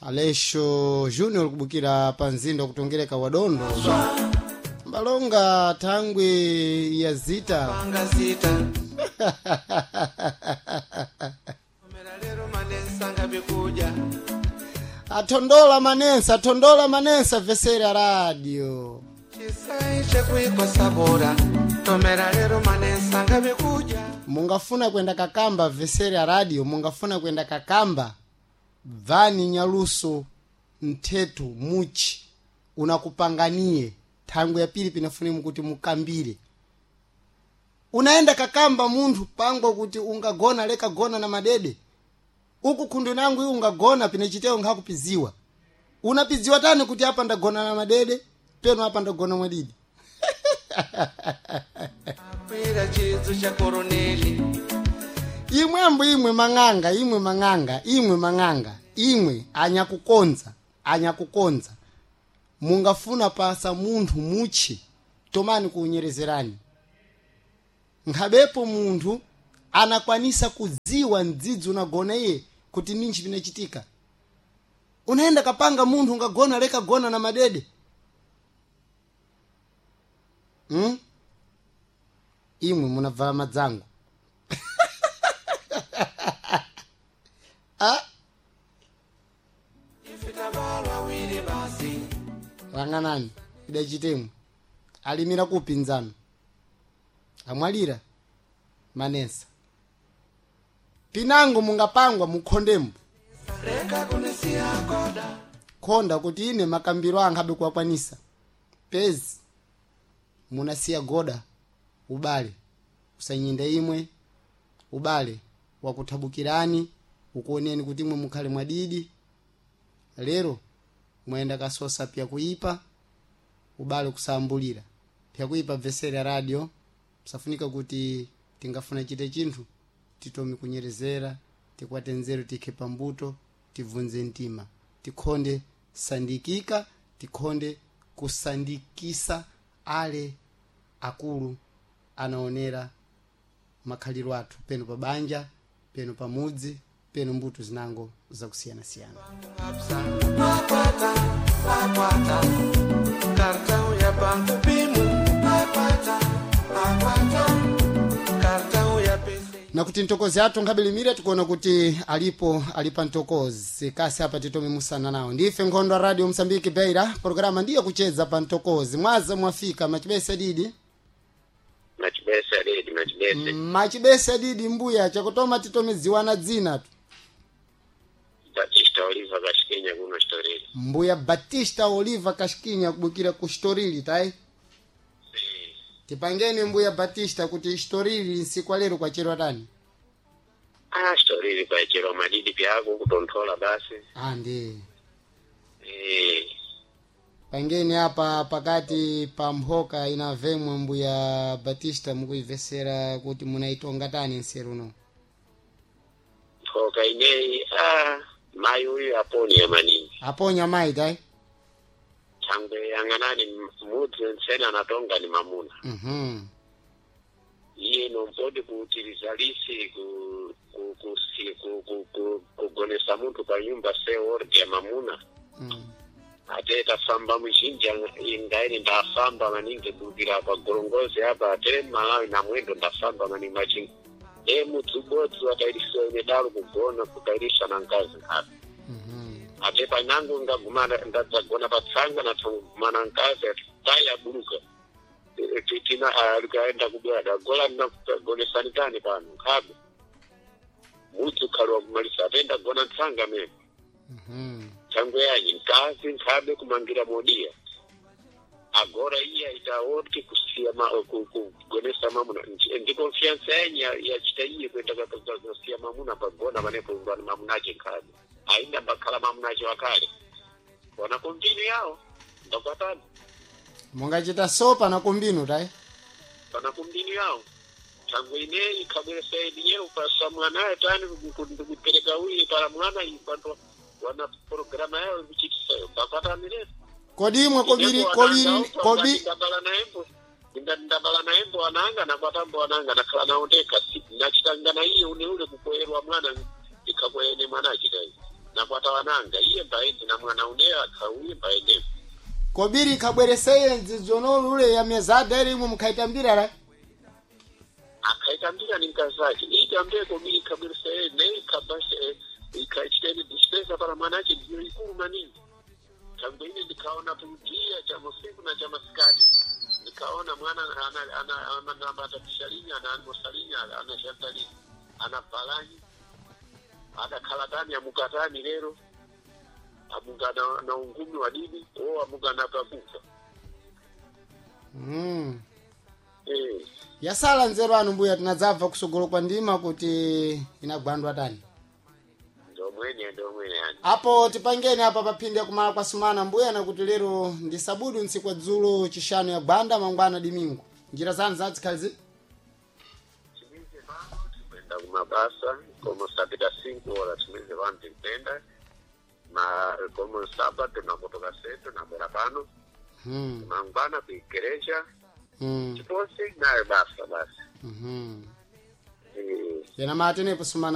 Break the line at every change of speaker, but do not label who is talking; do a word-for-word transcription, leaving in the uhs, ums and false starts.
Aleixo Junior kubukira pa mzinda kutongereka wadondo mbalonga thangwi ya zita
Panga zita Omera lero manensa bikuja
athondola manensa athondola manensa vesera radio
Chisai chekuikosa bora Tomera lero manensa bikuja
mungafuna kwenda kakamba vesera radio mungafuna kwenda kakamba bvani nyaluso mthetho muchi unakupanganie thangwi ya pili pinafune kuti mukambire unaenda kakamba munthu pangwa kuti ungagona leka gona na madede uku khundu nangu iwe ungagona pinechitewo nkhakupiziwa unapiziwa tani kuti apa ndagona na madede peno apa ndagona mwadidi
Akwira chizu cha koroneli
imwembo imwe mang'anga imwe mang'anga imwe mang'anga imwe anyakukonza anyakukonza mungafuna pasa munthu muchi tomani kuunyerezerani nkhabepo munthu anakwanisa kudziwa mdzidzi unagona iye kuti ninji pinachitika unaenda kapanga munthu ungagona leka gona na madede hmm? imwe munabvala madzango ah?
Ifitabalwa wili basi
rang'anani idachitemwe alimira kupinzano amwalira manesa pinango mungapangwa mukhondembo
Leka kunisia koda
khonda kuti ine makambiro anga abe kuwakwanisa pezi munasiya goda ubale usanyinda imwe ubale wakuthabukirani ukuoneni kuti imwe mukhale mwadidi lero mwayenda kasosa pya kuipa ubale kusambulira pya kuipa vesera radio safunika kuti tingafuna chite chinthu titomi kunyerezera tikwate nzeru tikhe pambuto tibvunze mtima tikhonde sandikika tikhonde kusandikisa ale akulu anaonera makhaliro athu peno pa banja peno pa mudzi peno mbuto zinango zakusiyanasiyana
Apsa Akwata Akwata Cartão ya banco pimu Akwata Akwata Cartão ya P C
nakuti mtokozi athu nkhabelimira tikuona kuti alipo alipa mtokozi kasi apa titome musana nawo ndife nkhondo ya radio msambiki beira programa ndiyo kucheza pa mtokozi mwaza mwafika machibesa didi
Machibese didi machibese
machibesa didi mbuya chakutoma titome dziwana dzina tu
Batista Oliva Kashikinya kuno Shitoriri
mbuya batista oliva kashikinya kubukira ku shitorili tayi tipangeni mbuya batista kuti shitorili nsiku lero kwacherwa tani
ah Shitoriri kwachero madidi pyako kutonthola basi
andi
eh
pangeni apa pakati pa mphoka inavemwe mbuya batista mukuibvesera kuti munaitonga tani nseru uno
mphoka ineyi ah mayi uyu aponya maningi
aponya mayi tayi
thangwe yang'anani mudzi ntsene anatonga ni mamuna
mhm
iye nompoti kuutiriza lisi ku ku ku si- ku ku ku kugonesa munthu pa nyumba se ordi ya mamuna
mm.
ate tafamba muzhinji ingaini ndafamba maningi bukira pa gorongozi apa ate malawi na mwendo ndafamba maningi machingi e mudzi ubodzi watairisiwa ine dalo kugona kutairisha na nkazi nkhapi
mhm
ate panango ngagumana ndadzagona patsanga natsangumana nkazi ati tayi abuluka E, e, tina alikaenda kubwada gola nagonesani tani pano nkhabe mudzi ukhali wakumalisa ate ndagona ntsanga mene
mhm
thangwe yanyi nkazi nkhabe kumangira modiya agora iya itaoti kusiya ma, ku, ku, kugonesa mamuna Nji- ndi confiance yanyi ya- yachita iye kuenda kusiya mamuna pagona panepo ngwani mamunache nkhabe ainda mbakhala mamunache wakale wana kombinu yawo ndakwatani
mungachita sopa na kumbinu tayi
pana kumbinu yawo thangwe ineyi ikhabweresa idinyewo pasa mwanaye tani ndikupereka uye para mwana iyi panto wana programa yawo ikuchitisayo ndakwatani
kodi imwe kobiri kobiri kobi
ndabala naembo ndabala naembo ananga nakwatambo ananga nakhala nawo ndekha nachitanga na iye une ule kukoyerwa mwana ikhakoyene mwana achitayi Nakwata wananga iye mbaende na mwana uneyo akhauye mbaende.
Kobiri ikabwereseye nzizono lule ya mezada ili imwe mukhaitambira la.
Akhaitambira ni mkazi itambire kobiri ikabwereseye ne ikabashe ikachiteni dispesa para mwanache ndiyo ikulu maningi. Tangu ine ndikaona pudia cha musiku na cha masikati, nikaona mwana ana ana ana anabatatisha lini, anaangosa lini, anashanta lini, anavalani, adakhalatani, amukatani lero amuka na, na ungumi wa dini o amuka na pakufa.
Mm.
Eh.
Yasala nzeru anu mbuya, tinadzabva kusogolo kwa ndima kuti inagwandwa tani.
Ndomwene, ndomwene yani.
Apo tipangeni apa paphindi kumala kwa sumana mbuya, nakuti lero ndi sabudu ntsiku ya dzulo chishanu ya gwanda mangwana dimingu njira zanu zadzikhalizi.
Timize pano tikwenda kumabasa como sapita cinco horas, timize pano tikwenda ma como sábado nakutoka setu nabwera pano
mm.
mangwana kuigereja
mm.
chiposi nayo basa basi.
mm
Eh.
Yena matenepo sumana.